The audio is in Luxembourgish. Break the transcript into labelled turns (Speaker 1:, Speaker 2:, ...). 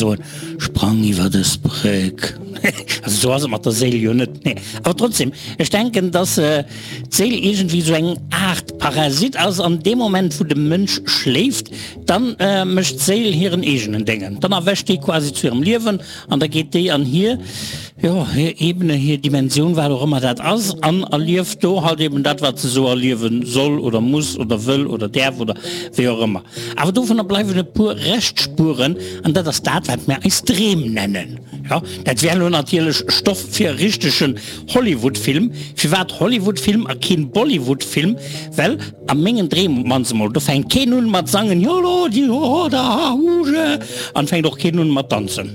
Speaker 1: soen, Sprang iwwer dës Bréck. Also esou ass et mat der Séil jo net, nee. Awer trotzdem, ech denken, dass d'Séil iergendwéi esou eng Aart Parasit ass an deem Moment wou de Mënsch schléift, dann mécht d'Séil hiren eegenen Déngen. Dann erwächt déi quasi zu hirem Liewen an da geet déi an hir, jo, hir Ebene, hir Dimensioun, wat och ëmmer dat ass, an erlieft do halt eben dat, wat se esou erliewe soll oder muss oder wëll oder däerf oder wéi och ëmmer. Awer dovunner bleiwen e puer Reschtspuren, an dat ass dat, wat mir eis Dreem nennen. Jo, dat wär elo natierlech Stoff fir e richtegen Hollywood-Film. Firwat Hollywood-Film a keen Bollywood-Film? Well a mengen Dreem op d'mannst emol, do fänkt keen un mat sangen, Jolo, di ho, da, ha, hu, je, an fänkt och keen un mat danzen.